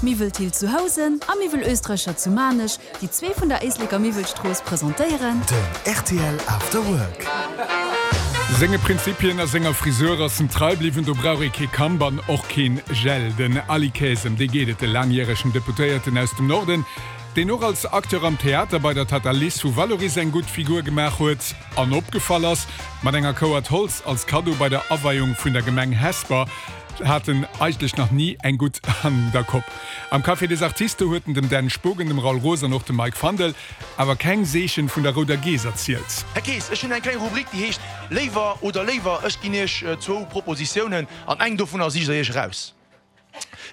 Miwwel Thill zu Housen a Miwwel Oestreicher zu Maarnech, déi zwee vun der Éisleker Miwwelstrooss, presentéieren. Den rtl After Work. Senge Prinzipien a senger Frisur ass en trei bliwwen, do brauch ee kee Kamp an och keen Gel. Den Aly Kaes, ëm dee geet et, de laangjäregen Deputéierten aus dem Norden, deen och als Acteur am Theater bei der Tata Liz vu Vallauris eng gutt Figur gemaach huet an opgefall ass mat enger Kouert Holz als Kaddo bei der Aweiung vun der Gemeng Hesper, hat en eigentlech nach ni eng gutt an der Kopp. Am Café des Artistes huet en dem Dan Spogen, dem Raoul Roos an och dem Mike Fandel awer keng Seechen vun der rouder Geess erzielt. Här Kaes, ech hunn eng kleng Rubrik, déi heescht Léiwer oder léiwer. Ech ginn Iech zwou Propositiounen an eng dovunner sicht Der Iech eraus.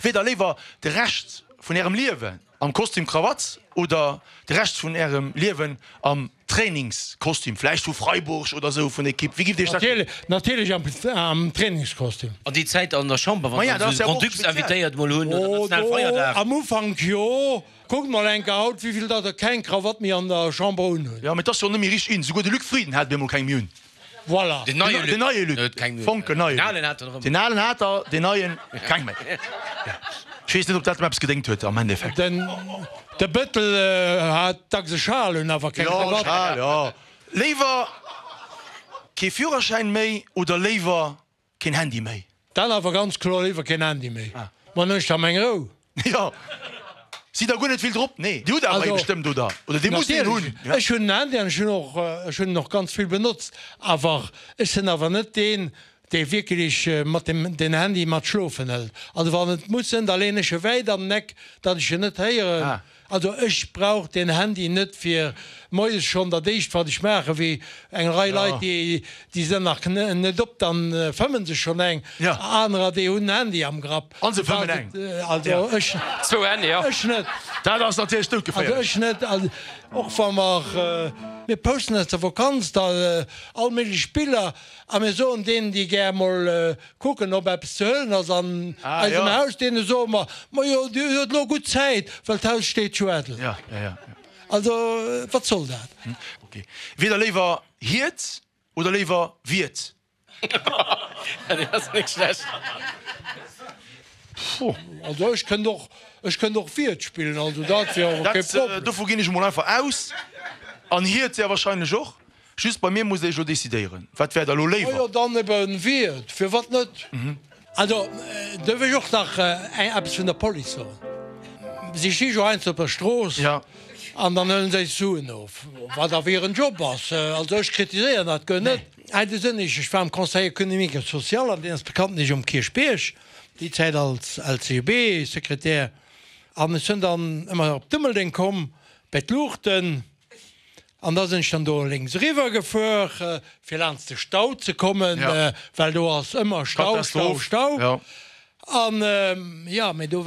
Wier Der léiwer de Rescht vun Ärem Liewen am Kostüm Krawatt oder de Rescht vun Ärem Liewen am Trainingskostüm, vläicht vu Freiburg oder esou vun Ekipp? Wéi giff Dir Iech dat. Natierlech am Trainingskostüm. An déi Zäit an der Chamber, wann se esou Grand-Ducs invitéiert mol hunn oder Nationalfeierdag. Am Ufank jo. Kuckt mol enker haut, wéivill der der keng Krawatt méi an der Chamber unhunn. Jo, mee et ass jo net méi richteg in. Souguer de Luc Frieden hat op eemol keng méi un. Voilà. Den neie Luc. Den neie Luc. Huet keng méi un. Fonkelneie Den alen hat der erëm. Den alen hat der, den neien keng méi. Ech weess net, ob dat em eppes gedéngt huet am Endeffekt. Den, de Bëttel hat dacks e Schal un, awer keng Krawatt. Jo, Schal, jo. Léiwer kee Führerschäin méi oder léiwer Keen Handy méi. Dann awer ganz kloer léiwer keen Handy méi. Ma dann hunn ech da meng Rou. Jo. Sidd der guer net vill drop? Nee. Dir hutt awer ee bestëmmt, oder? Oder dir musst een hunn. Natierlech. Ech hunn en Handy an ech hunn och, ech hunn en och ganz vill benotzt. Awer ech sinn awer net deen, dee wierklech mat dem, den Handy mat schlofen hëlt. Also wann et muss sinn, da leen ech e wäit an den Eck, datt ech en net héieren. Also ech brauch den Handy net fir moies schonn dat éischt wat ech maachen, wéi eng Rei Leit déi déi sinn nach net op, dann fëmmen se schonn eng, anerer déi hunn en Handy am Grapp. An se fëmmen eng. Also ech Zwou Handye, jo. Ech net. Dat ass natierlech doudgeféierlech. Also ech net. Also och wa mer, mir posten aus der Vakanz da all méiglech Biller a mir soen deenen déi gär mol Kucken ob eppes ze huelen ass an eisem Haus. Deene soe mer, Majo, dir huet elo gutt Zäit, well d'Haus steet jo eidel. Also, wat soll dat? Wier der léiwer Hiert oder léiwer Wiert? Dat ass net schlecht. Also ech kënnt och, ech kënnt och Wiert spillen, also dat wier awer kee Problem. Dovu ginn ech emol einfach aus. An Hiert sehr wahrscheinlech och. Just bei mir musst der iech elo decidéieren. Wat wäert der elo léiwer? Majo, dann eben Wiert, firwat net? Also, duerf ech och nach eppes vun der Police soen? Si sti jo heiansdo op der Strooss an dann huelen se eis Suen of, wat awer hiren Job ass. Also ech kritiséieren dat guer net. Hei de Sënneg, ech war am Conseil économique et social an deen ass bekanntlech um Kierchbierg, déi Zäit als LCGB-Sekretär. An ech sinn dann ëmmer op Dummeldeng komm bei d'Luuchten. An da sinn ech dann do lénks eriwwer gefuer, fir laanscht de Stau ze kommen, well do ass ëmmer Stau, Stau, Stau. An jo, mee do.